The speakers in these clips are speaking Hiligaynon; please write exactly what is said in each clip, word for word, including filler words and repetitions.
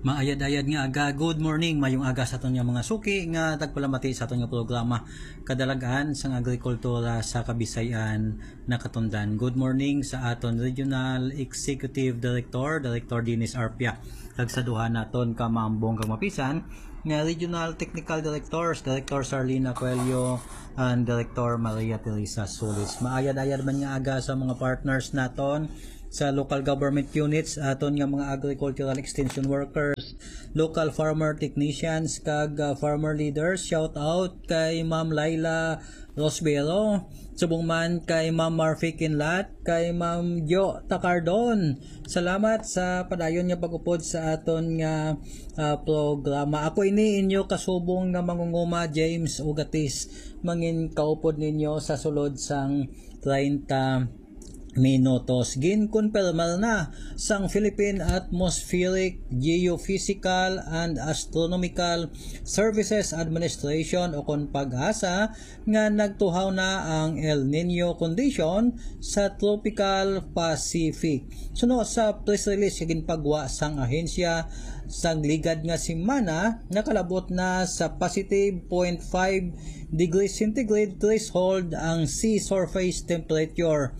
Maayad-ayad nga aga, good morning, mayong aga sa aton nga mga suki nga tagpalamati sa aton nga programa, Kadalagan sang Agrikultura sa Kabisayan Nakatundan. Good morning sa aton Regional Executive Director, Director Dennis Arpia, kag sa duha naton ka maambong kag mapisan nga Regional Technical Directors, Director Sarlina Coelho and Director Maria Teresa Solis. Maayad-ayad man nga aga sa mga partners naton sa local government units, aton nga mga agricultural extension workers, local farmer technicians, kag, ah, farmer leaders. Shout out kay Ma'am Laila Rosbero, subong man kay Ma'am Marfi Kinlat, kay Ma'am Jo Tacardon. Salamat sa padayon nga pag-upod sa aton nga, ah, programa. Ako ini inyo kasubong nga mangunguma, James Ugatis. Mangin kaupod ninyo sa sulod sang treinta minutos. Ginkonpirmar na sang Philippine Atmospheric, Geophysical and Astronomical Services Administration o kon PAGASA nga nagtuhaw na ang El Niño condition sa Tropical Pacific. Suno sa press release nga ginpagwa sang ahensya, sang ligad nga semana nakalabot na sa positive point five degrees centigrade threshold ang sea surface temperature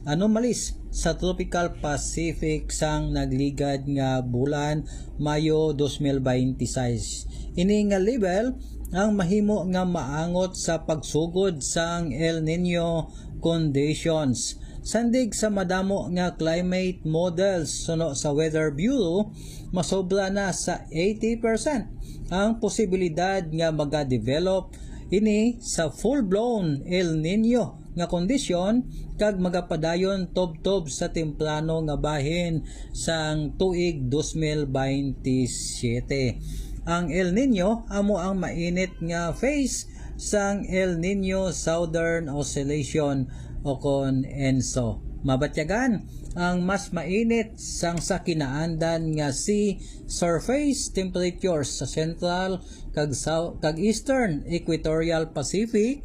anomalies sa Tropical Pacific sang nagligad nga bulan, Mayo dos mil binte y seis. Ini nga level ang mahimo nga maangot sa pagsugod sang El Niño conditions. Sandig sa madamo nga climate models suno sa Weather Bureau, masobra na sa eighty percent ang posibilidad nga magadevelop ini sa full-blown El Niño nga kondisyon kag magapadayon tubtob sa temprano nga bahin sang tuig dos mil baynte siyete. Ang El Niño amo ang mainit nga phase sang El Niño Southern Oscillation o kon ENSO. Mabatyagan ang mas mainit sang sa kinaandan nga sea surface temperatures sa central kag sou-, kag eastern equatorial Pacific,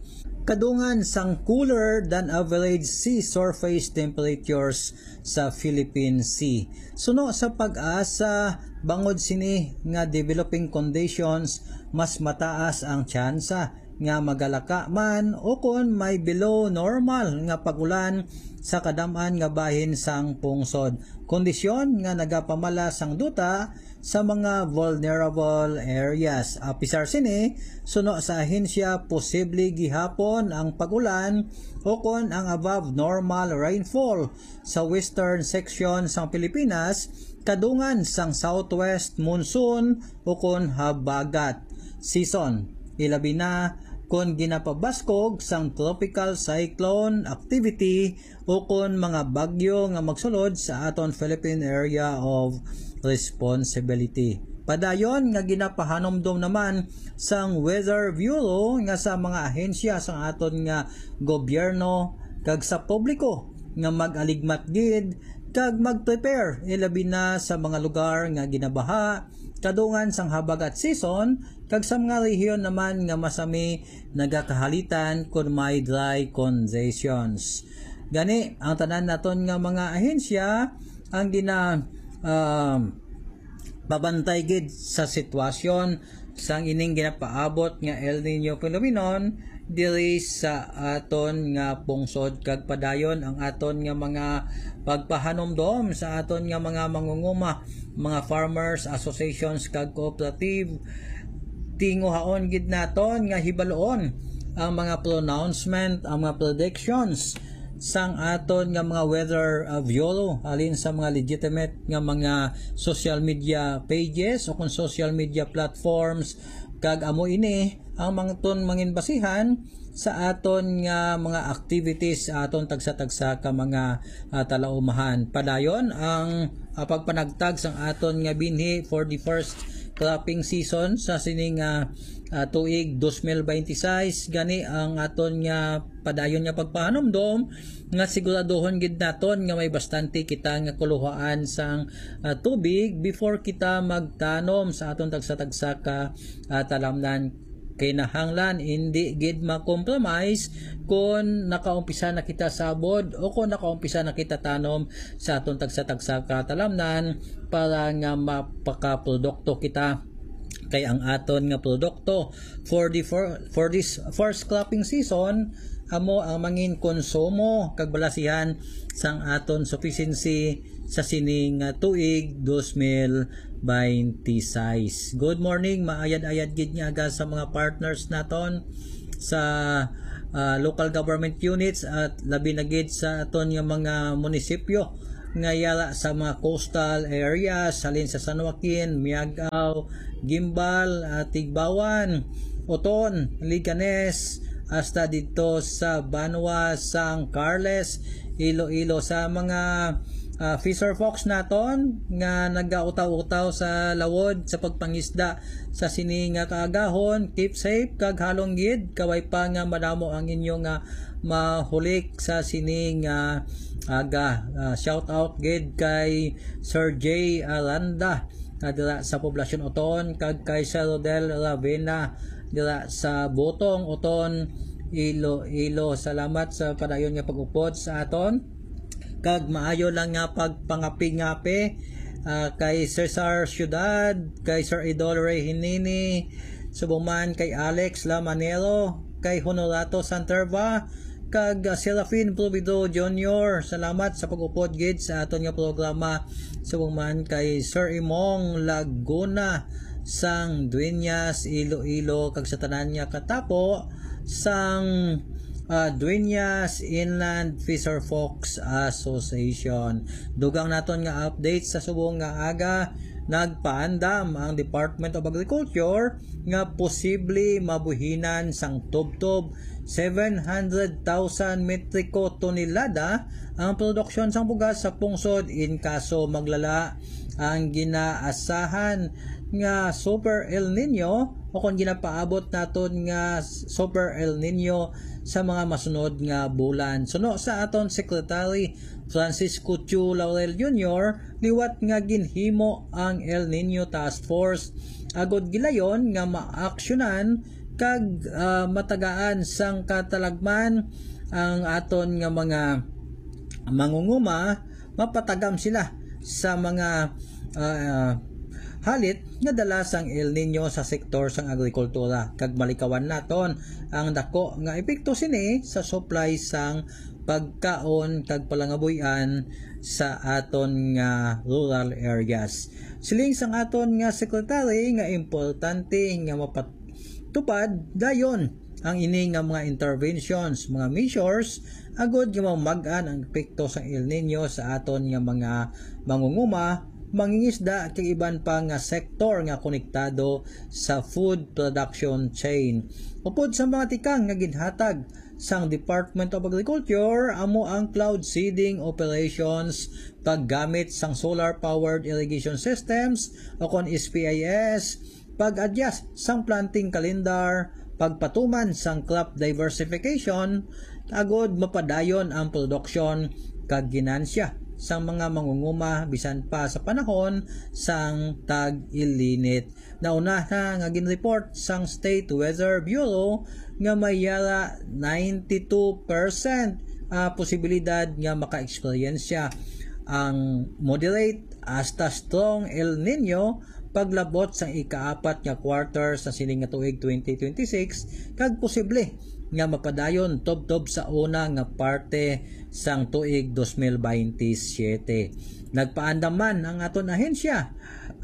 kadungan sang cooler than average sea surface temperatures sa Philippine Sea. Suno sa PAGASA, bangod sini nga developing conditions, mas mataas ang tsansa nga magalaka man o kon may below normal nga pag-ulan sa kadam-an nga bahin sang pungsod, kondisyon nga nagapamala sang duta sa mga vulnerable areas. Apisar sini, suno sa ahensya, posible gihapon ang pag-ulan o kon ang above normal rainfall sa western section sang Pilipinas, kadungan sang southwest monsoon o kon habagat season, ilabi na kon ginapabaskog sang tropical cyclone activity o kon mga bagyo nga magsulod sa aton Philippine Area of Responsibility. Padayon nga ginapahanumdom naman sang Weather Bureau nga sa mga ahensya sang aton nga gobyerno kag sa publiko nga mag-aligmat gid kag mag-prepare, ilabi na sa mga lugar nga ginabaha, kadungan sang habagat season, kag sa mga rehiyon naman nga masami nagakahalitan kon may dry conditions. Gani, ang tanan naton nga mga ahensya ang gina-, um, babantay gid sa sitwasyon sang ining ginapaabot nga El Niño phenomenon diri sa aton nga pungsod, kag padayon ang aton nga mga pagpahanumdom sa aton nga mga mangunguma, mga farmers associations kag cooperative. Tinguhaon gid naton nga hibaluon ang mga pronouncement, ang mga predictions sang aton nga mga weather, uh, bureau halin sa mga legitimate nga mga social media pages o kung social media platforms, kag amo ini ang mga ton manginbasihan sa aton nga mga activities sa aton tagsa-tagsa ka mga, ah, talaumahan. Padayon ang, ah, pagpanagtag sang aton nga binhi for the first cropping season sa sini nga, ah, tuig dos mil baynte sais. Gani ang aton nga padayon nga pagpahanumdom nga siguraduhon gid naton nga may bastante kita nga kuluhaan sang, ah, tubig before kita magtanom sa aton tagsa-tagsa ka, ah, talamnan. Kinahanglan hindi gid ma-compromise kon nakaumpisa na kita sabod o kon nakaumpisa na kita tanom sa aton tagsa-tagsa ka talamnan para nga mapakaprodukto kita. Kay ang aton nga produkto for the for, for this first cropping season amo ang mangin konsumo kag balasihan sang aton sufficiency sa sining nga tuig dos mil baynte sais. Good morning, maayad-ayad gid nga aga sa mga partners naton sa ah, local government units at labi na gid sa aton nga mga munisipyo nga yara sa mga coastal areas halin sa San Joaquin, Miagao, Guimbal, ah, Tigbauan, Oton, Leganes, hasta didto sa Banwa, San Carles, Iloilo, sa mga ah, fisher folks naton nga nagautaw-utaw sa lawod sa pagpangisda sa sini nga kaagahon. Keep safe kag halong gid, kabay pa nga madamo ang inyo nga mahulik sa sini nga aga. Ah, shout out gid kay Sir J Aranda, ah, dira sa Poblacion Oton, kag kay Sir Rodel Ravena dira sa Botong Oton, Iloilo. Salamat sa padayon nga pag-upod sa aton, kag maayo lang nga pagpangapi-ngapi, ah, kay Cesar Ciudad, kay Sir Idol Ray Hinini, subong man kay Alex Lamanero, kay Honorato Santerva, kag, ah, Serafin Provido Junior. Salamat sa pag-upod gid sa aton nga programa. Subong man kay Sir Imong Laguna sang Dueñas, Iloilo, kag sa tanan nga katapo sang, ah, Dueñas Inland Fisher Folks Association. Dugang naton nga update sa subong nga aga, nagpaandam ang Department of Agriculture nga posible mabuhinan sang tubtob seven hundred thousand metriko tonelada ang produksyon sang bugas sa pungsod in kaso maglala ang ginaasahan nga Super El Nino o kon ginapaabot naton nga Super El Nino sa mga masunod nga bulan. Suno sa aton Secretary Francisco Chu Laurel Junior, liwat nga ginhimo ang El Nino Task Force agud gilayon nga maaksyonan kag, ah, matagaan sang katalagman ang aton nga mga mangunguma, mapatagam sila sa mga, ah, halit nga dala sang El Nino sa sektor sang agrikultura, kag malikawan naton ang dako nga epekto sini sa supply sang pagkaon kag palangabuy-an sa aton nga rural areas. Siling sang aton nga secretary nga importante nga mapatupad dayon ang ini nga mga interventions, mga measures, agud nga mamag-an ang epekto sang El Nino sa aton nga mga mangunguma, mangingisda, kag iban pa nga sektor nga konektado sa food production chain. Upod sa mga tikang nga ginhatag sang Department of Agriculture, amo ang cloud seeding operations, paggamit sang solar-powered irrigation systems o kon S P I S, pag-adjust sang planting calendar, pagpatuman sang crop diversification, agud mapadayon ang produksyon kag ginansya sang mga mangunguma bisan pa sa panahon sang tag-ilinit. Nauna na nga ginreport sang State Weather Bureau nga may yara ninety-two percent, ah, posibilidad nga maka-eksperyensya ang moderate hasta strong El Nino paglabot sang ikaapat nga quarter sa sining nga tuig twenty twenty-six, kag posible nga mapadayon tubtob sa una nga parte sang tuig dos mil baynte siyete. Nagpaandam man ang aton ahensya,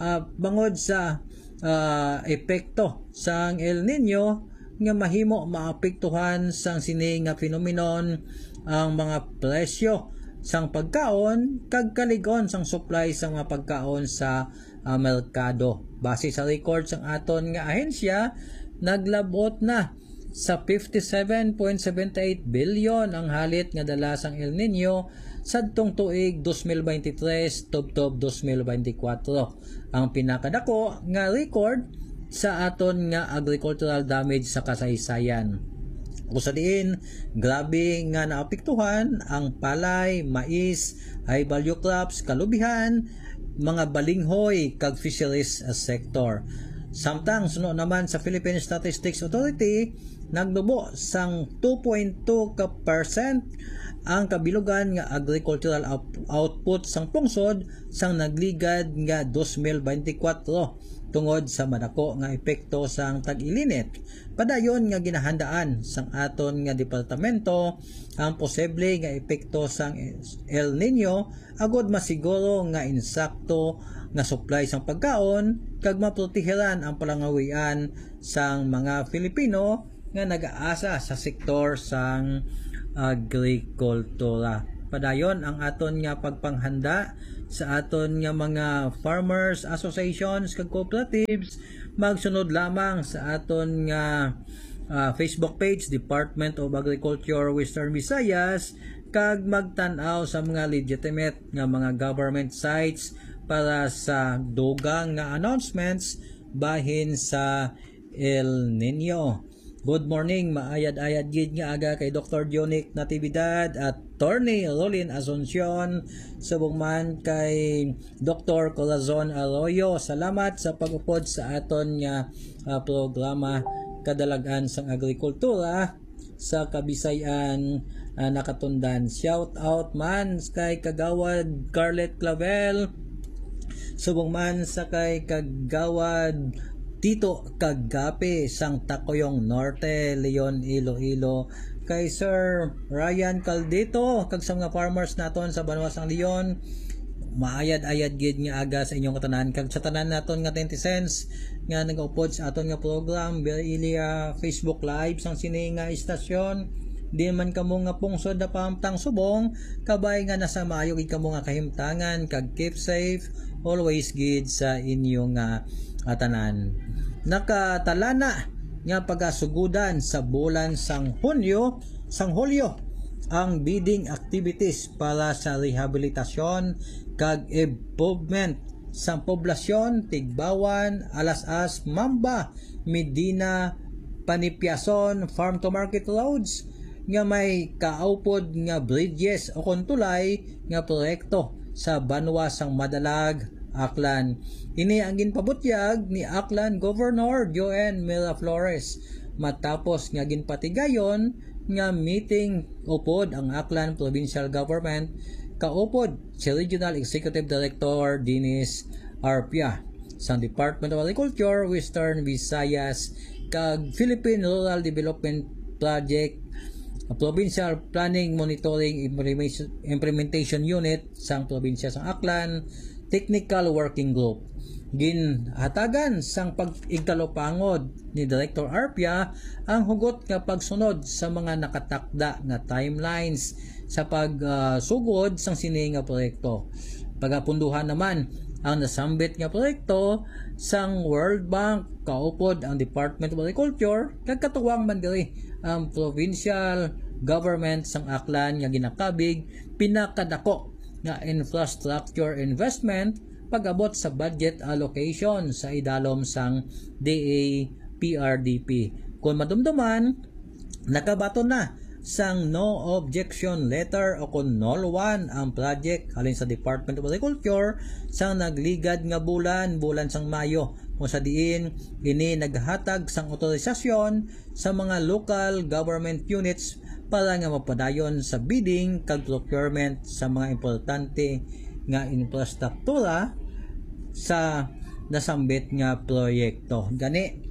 ah, bangod sa, ah, epekto sang El Nino nga mahimo maapektuhan sang sini nga phenomenon ang mga presyo sang pagkaon kag kalig-on sang supply sang mga pagkaon sa, ah, merkado. Base sa record sang aton nga ahensya, naglab-ot na sa fifty-seven point seven eight billion ang halit nga dala sang El Nino sadtong tuig dos mil baynte tres tubtob dos mil baynte kuwatro, ang pinakadako nga record sa aton nga agricultural damage sa kasaysayan, usa diin grabe nga naapektuhan ang palay, mais, high value crops, kalubihan, mga balinghoy, kag fisheries, ah, sector. Samtang suno naman sa Philippine Statistics Authority, nagnubo sang two point two ka percent ang kabilugan nga agricultural out- output sang pungsod sang nagligad nga dos mil beintikwatro tungod sa madako nga epekto sang tag-ilinit. Padayon nga ginahandaan sang aton nga departamento ang posible nga epekto sang El Nino agod masiguro nga insakto nga supply sang pagkaon kag maprotehiran ang palangawian sang mga Filipino nga nag-aasa sa sektor sang agrikultura. Padayon ang aton nga pagpanghanda sa aton nga mga farmers associations kag cooperatives, magsunod lamang sa aton nga ah, Facebook page, Department of Agriculture Western Visayas, kag magtan-aw sa mga legitimate nga mga government sites para sa dugang nga announcements bahin sa El Nino. Good morning, maayad-ayad gid nga aga kay Doktor Dionic Natividad at Attorney Rolin Asuncion, subong man kay Doktor Corazon Arroyo. Salamat sa pag-upod sa aton nga ah, programa, Kadalag-an sang Agrikultura sa Kabisay-an, ah, Nakatundan. Shout out man kay Kagawad Carlet Clavel, subong man sa kay Kagawad Tito Kagape sang Tacoyong Norte, Leon, Iloilo, kay Sir Ryan Caldito, kag sa mga farmers naton sa banwa sang Leon. Maayad-ayad gid nga aga sa inyong katanan, kag sa tanan naton nga netizens nga nagaupod sa aton nga program via Facebook Live sang sini nga istasyon. Di man kamo nga pungsod na pahamtang subong, kabay nga nasa maayo gid kamo nga kahimtangan, kag keep safe always gid sa inyo nga atanan. Nakatalana nga pagasugodan sa bulan sang Hunyo, sang Hulyo, ang bidding activities para sa rehabilitasyon kag improvement sang poblasyon, Tigbawan, Alas-as, Mamba, Medina, Panipiason, Farm to Market Roads, nga may kaupod nga bridges o kon tulay nga proyekto sa banwa sang Madalag, Aklan. Ini ang ginpabutyag ni Aklan Governor Joan Miraflores matapos nga ginpatigayon nga meeting upod ang Aklan Provincial Government kaupod si Regional Executive Director Dennis Arpia sang Department of Agriculture, Western Visayas, kag Philippine Rural Development Project, Provincial Planning Monitoring Implementation, Implementation Unit sang Probinsya sang Aklan, Technical Working Group. Ginhatagan sang pag-igtalupangod ni Director Arpia ang hugot nga pagsunod sa mga nakatakda nga timelines sa pagsugod sang sini nga proyekto. Pagapunduhan naman ang nasambit nga proyekto sang World Bank, kaupod ang Department of Agriculture, kag katuwang man diri ang provincial government sang Aklan nga ginakabig pinakadako nga infrastructure investment pag-abot sa budget allocation sa idalom sang D A P R D P. Kung madumduman, nakabaton na sang no objection letter o kon nol one ang project halin sa Department of Agriculture sang nagligad nga bulan, bulan sang Mayo, kung sa diin ini naghatag sang otorisasyon sa mga local government units para nga mapadayon sa bidding kag procurement sa mga importante nga infrastruktura sa nasambit nga proyekto. Gani,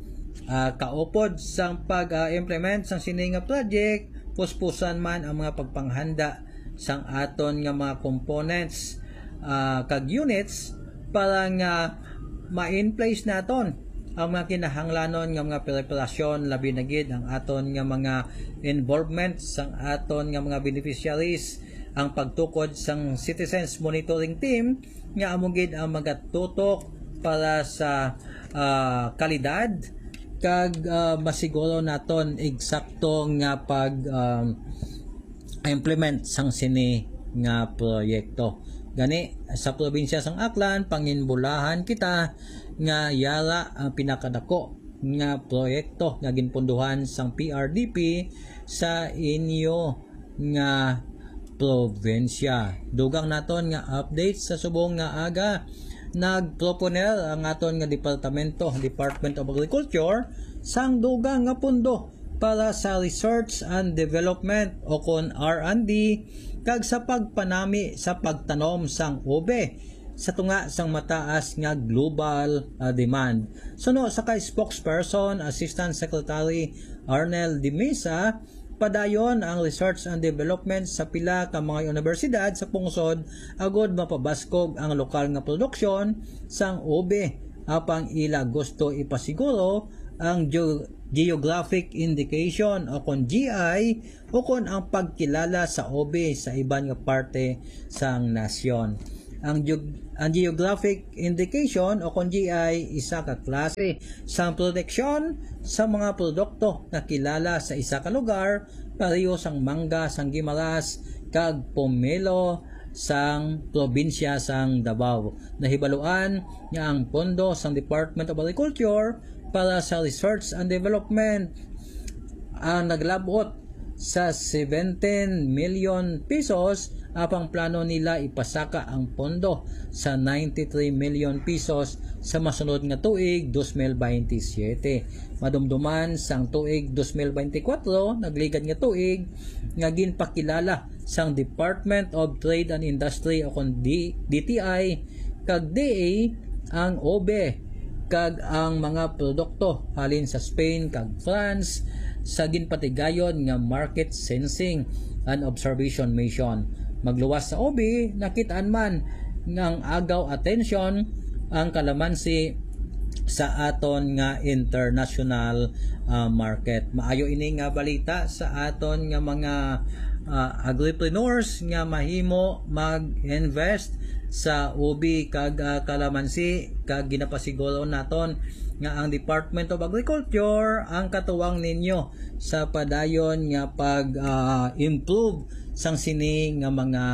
ah, kaupod sang pag-implement sang sini nga project, puspusan man ang mga pagpanghanda sang aton nga mga components, ah, kag units para nga ma-in place naton ang mga kinahanglanon nga mga preparasyon, labi na gid ang aton nga mga involvement sang aton nga mga beneficiaries, ang pagtukod sang Citizens Monitoring Team nga amo gid ang magatutok para sa, ah, kalidad kag, ah, masiguro naton eksakto nga pag, um, implement sang sini nga proyekto. Gani, sa probinsya sang Aklan, panginbulahan kita nga yara ang pinakadako nga proyekto nga ginpunduhan sang P R D P sa inyo nga probinsya. Dugang naton nga update sa subong nga aga. Nagproponer ang aton nga departamento, Department of Agriculture, sang dugang nga pondo para sa research and development o kon R and D kag sa pagpanami sa pagtanom sang ube sa tunga sang mataas nga global, ah, demand. Suno sa kay spokesperson, Assistant Secretary Arnel Dimisa, padayon ang research and development sa pila ka mga universidad sa pungsod agod mapabaskog ang lokal nga produksyon sang ube, apang ila gusto ipasiguro ang geo-, geographic indication o kon G I o kon ang pagkilala sa ube sa iban nga parte sang nasyon. Ang geog-, ang geographic indication o kon G I isa ka klase sang proteksyon sa mga produkto nga kilala sa isa ka lugar, pareho sang mangga sang Guimaras kag pomelo sang probinsya sang Davao. Nahibaluan nga ang pondo sang Department of Agriculture para sa research and development ang naglabot sa seventeen million pesos, apang plano nila ipasaka ang pondo sa ninety-three million pesos sa masunod nga tuig, dos mil baynte siyete. Madumduman sang tuig dos mil baynte kwatro, nagligad nga tuig, nga ginpakilala sang Department of Trade and Industry o kon D-, D T I kag D A ang ube kag ang mga produkto halin sa Spain kag France sa ginpatigayon nga market sensing and observation mission. Magluwas sa ube, nakitaan man nga ang agaw atensyon ang kalamansi sa aton nga international, ah, market. Maayo ini nga balita sa aton nga mga, ah, agripreneurs nga mahimo mag-invest sa ubi kag, ah, kalamansi, kag ginapasiguro naton nga ang Department of Agriculture ang katuwang ninyo sa padayon nga pag, ah, improve sang sini nga mga,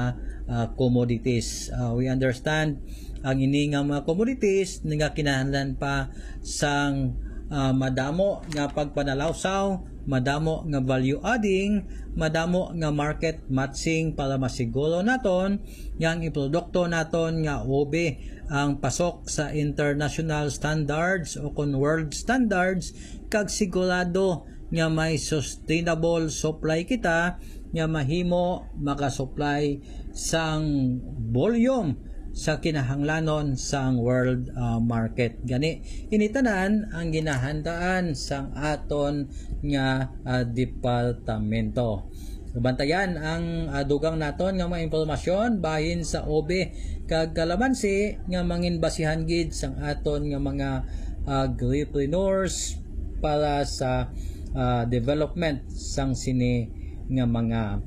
ah, commodities. Ah, we understand ang ini nga mga commodities nga kinahanglan pa sang, ah, madamo nga pagpanalawsaw, madamo nga value adding, madamo nga market matching para masiguro naton nga ang iprodukto naton nga ube ang pasok sa international standards o kon world standards, kag sigurado nga may sustainable supply kita nga mahimo makasupply sang volume sa kinahanglanon sang world, ah, market. Gani, ini tanan ang ginahandaan sang aton nga, ah, departamento. Bantayan ang, ah, dugang naton nga mga impormasyon bahin sa ube kag kalamansi nga manginbasihan gid sang aton nga mga agripreneurs para sa, ah, development sang sini nga mga,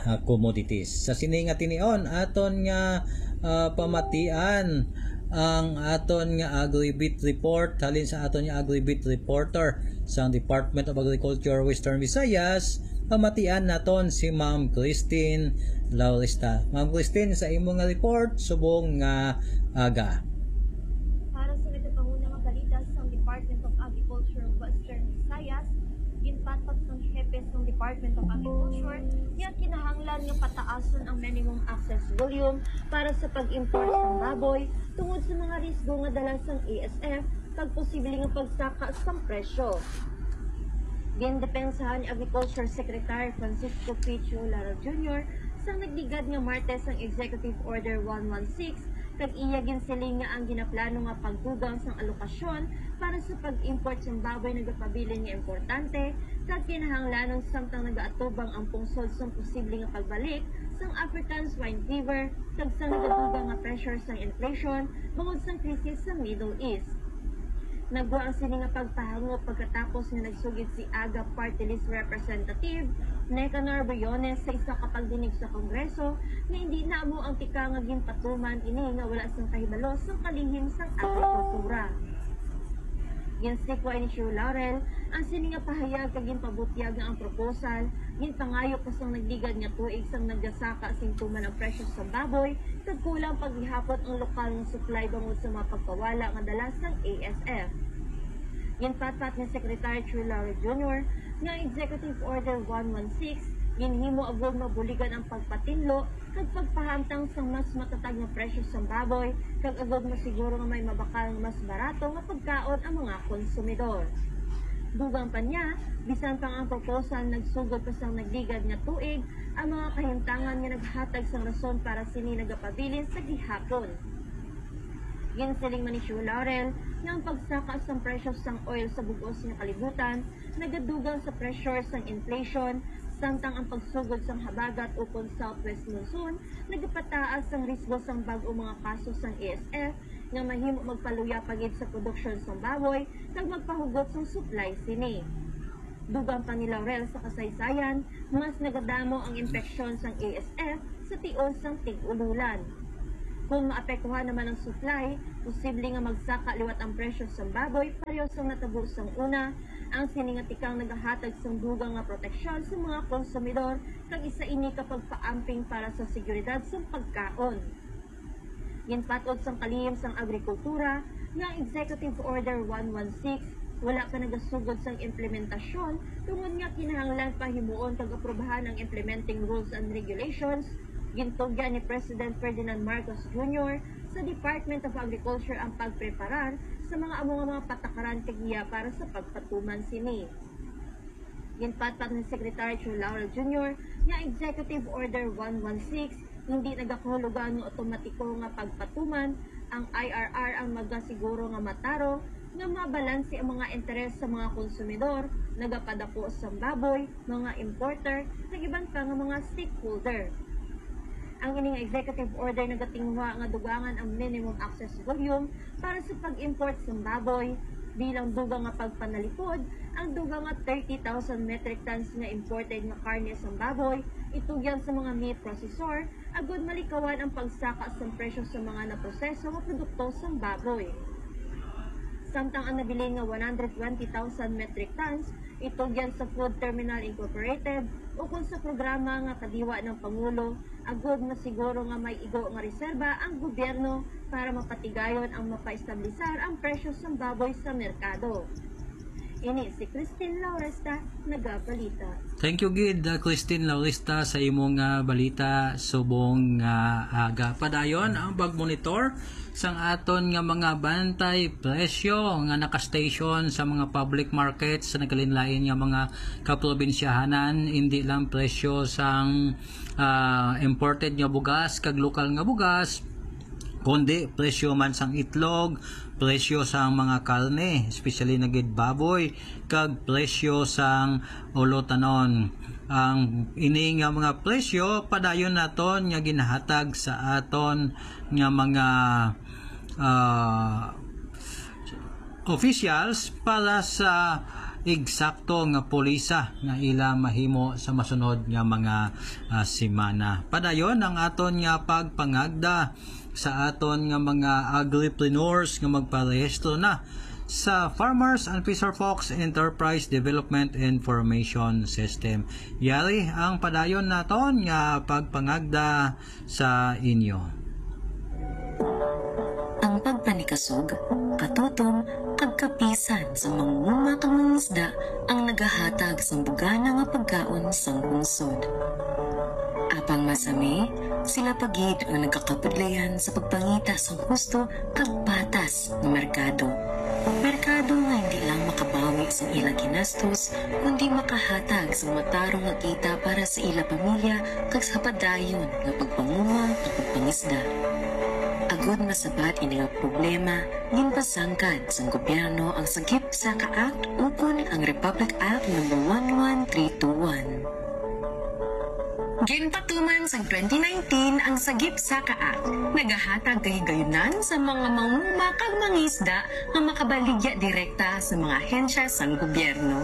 ah, commodities. Sa sini nga tinion, aton nga, ah, pamatian ang aton nga Agribit report halin sa aton nga Agribit reporter sang Department of Agriculture Western Visayas. Pamatian naton si Ma'am Christine Laurista. Ma'am Christine, sa imo nga report, subong nga aga. Para sa nagkakahuna nga balita sa Department of Agriculture Western Visayas, ginpatpat sang hepe sang Department of Agriculture nga kinahanglan nga pataason ang minimum access volume para sa pag-import sang baboy tungod sa mga risgo nga dala sang A S F kag posible nga pagsaka sang presyo. Gindepensahan ni Agriculture Secretary Francisco Pichu Lara Junior sang nagligad nga Martes ang Executive Order one one six, kag iya ginsiling nga ang ginaplano nga pagdugang sang alokasyon para sa pag-import sang baboy nagapabilin nga importante kag kinahanglanon samtang nagaatubang ang pungsod sang posible nga pagbalik sang African Swine Fever kag sang nagadugang nga pressure sang inflation bangod sang krisis sa Middle East. Nagwa ang sini nga pagpahangop pagkatapos nga nagsugid si AGA Party List Representative Nicanor Briones sa isa ka pagdinig sa Kongreso nga indi na amo ang tika nga ginpatuman ini nga wala sang kahibalo sang kalihim sang agrikultura. Ginsikwa ni Sir Laurel ang sini nga pahayag kag ginpabutyag nga ang proposal ginpangayo pa sang nagligad nga tuig sang nagasaka sing tuman ang presyo sa baboy kag kulang pa gihapon ang lokal nga supply bangod sa mga pagkawala nga dala sang A S F. Ginpatpat ni Secretary True Laurel Junior nga ang Executive Order one one six Ginhimo agud mabuligan ang pagpatinlo kag pagpahamtang sang mas matatag nga presyo sang baboy, kag agud masiguro nga may mabakal nga mas barato nga pagkaon ang mga konsumidor. Dugang pa niya, bisan pa ang proposal nagsugod pa sang nagligad nga tuig, ang mga kahimtangan nga naghatag sang rason para sini nagapabilin sa gihapon. Ginsiling man ni Shu Laurel nga ang pagsaka sang presyo sang oil sa bug-os nga kalibutan nagadugang sa pressure sang inflation, samtang ang pagsugod sang habagat ukon southwest monsoon nagapataas sang risgo sang bag-ong mga kaso sang A S F nga mahimo magpaluya pa gid sa produksyon sang baboy kag magpahugot sang supply sini. Dugang pa ni Laurel sa kasaysayan, mas nagadamo ang impeksyon sang A S F sa tion sang tig-ululan. Kung maapektuhan naman ang supply, posible nga magsaka liwat ang presyo sang baboy, pareho sang natabo sang una. Ang sini nga tikang nagahatag sang dugang nga proteksyon sa mga konsumidor, kag isa ini ka pagpaamping para sa seguridad sang pagkaon. Ginpatod sang kalihim sang agrikultura nga ang Executive Order one one six wala pa nagasugod sang implementasyon, tungod nga kinahanglan pa himuon kag aprubahan ang implementing rules and regulations. Gintugyan ni President Ferdinand Marcos Junior sa Department of Agriculture ang pagpreparar sa mga amo nga mga patakaran kag giya para sa pagpatuman sini. Ginpatpat ni Secretary Chu Laurel Junior nga Executive Order one one six hindi nagakahulugan nga otomatiko nga pagpatuman. Ang I R R ang magasiguro nga matarong nga mabalanse ang mga interes sa mga konsumidor, nagapadako sang baboy, mga importer, kag iban pa nga mga stakeholder. Ang ining executive order nagatinguha nga dugangan ang minimum access volume para sa pag-import sang baboy. Bilang dugang nga pagpanalipod, ang dugang nga thirty thousand metric tons nga imported nga karne sang baboy itugyan sa mga meat processor agud malikawan ang pagsaka sang presyo sa mga naproseso nga produkto sang baboy. Samtang ang nabilin nga one hundred twenty thousand metric tons itugyan sa Food Terminal Incorporated ukon sa programa nga kadiwa ng Pangulo, agud masiguro nga may igo nga reserba ang gobyerno para mapatigayon ang mapaestablisar ang presyo sang baboy sa merkado. Ini si Christine Lauresta, nagabalita. Thank you gid, uh, Christine Lauresta, sa imong, uh, balita subong nga aga. Padayon ang pagmonitor sang aton nga mga bantay presyo nga naka-station sa mga public markets sa nagkalain-lain nga mga kaprobinsyahanan, hindi lang presyo sang, ah, imported nga bugas kag lokal nga bugas, kundi presyo man sang itlog, presyo sang mga karne, especially na gid baboy, kag presyo sang ulotanon. Ang ini nga mga presyo padayon naton nga ginahatag sa aton nga mga, ah, officials para sa eksakto nga pulisa nga ila mahimo sa masunod nga mga, ah, semana. Padayon ang aton nga pagpangagda sa aton nga mga agripreneurs nga magparehistro na sa Farmers and Fisher Folks Enterprise Development Information System. Yari ang padayon naton nga pagpangagda sa inyo. Ang pagpanikasog, katutom, kag kapisan sa mangunguma kag mangisda ang nagahatag sang bugana nga pagkaon sang lungsod. Apang masami, sila pa gid ang nagakabudlayan sa pagpangita sang husto kag patas nga merkado. Merkado nga hindi lang makabawi sa ila ginastos, kundi makahatag sang matarong nga kita para sa ila pamilya kag sa padayon nga pagpanguma kag pagpangisda. Agud masabat ini nga problema, ginpasangkad sang gobyerno ang Sagip Saka Act ukon ang Republic Act number one one three two one. Ginpatuman sang twenty nineteen ang Sagip Saka Act. Nagahatag kahigayunan sa mga manguma kag mangisda nga makabaligya direkta sa mga ahensya sang gobyerno.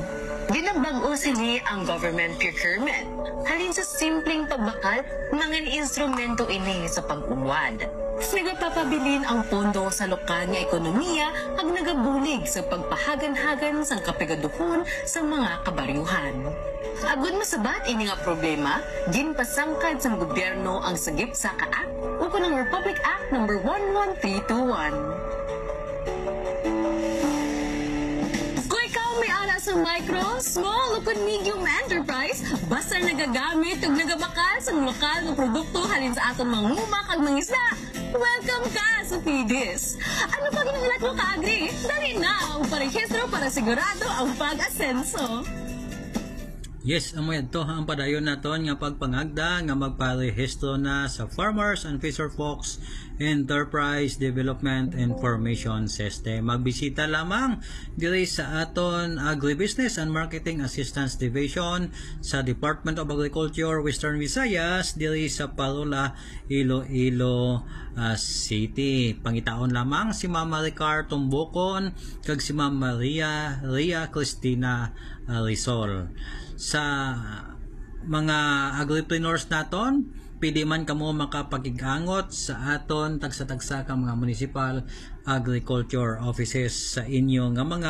Ginabag-o sini ang government procurement. Halin sa simpleng pagbakal, mga instrumento ini sa pag-unwad. Nagapapabilin ang pondo sa lokal nga ekonomiya kag nagabulig sa pagpahagan-hagan sang kapigaduhon sa mga kabaryuhan. Agud masabat ini nga problema, ginpasangkad sang gobyerno ang Sagip Saka Act ukon ang Republic Act number one one three two one. Kung ikaw may ara sa Micro, small, ukon medium enterprise, basta nagagamit kag nagabakal sa lokal nga produkto halin sa aton manguma kag mangisda, welcome ka sa Fidis. Ano pa ginahulat mo, ka-agri? Dali na ang parehistro para sigurado ang pag-asenso. Yes, amo yadto ang padayon naton nga pagpangagda nga magparehistro na sa Farmers and Fisher Folks Enterprise Development Information System. Magbisita lamang diri sa aton Agribusiness and Marketing Assistance Division sa Department of Agriculture, Western Visayas, diri sa Parola, Iloilo ah, City. Pangitaon lamang si Ma'am Maricar Tumbukon kag si Ma'am Maria Ria Cristina ah, Rizal. Sa mga agripreneurs naton, pwede man kamo makapakig-angot sa aton tagsa-tagsa ka mga municipal agriculture offices sa inyo nga mga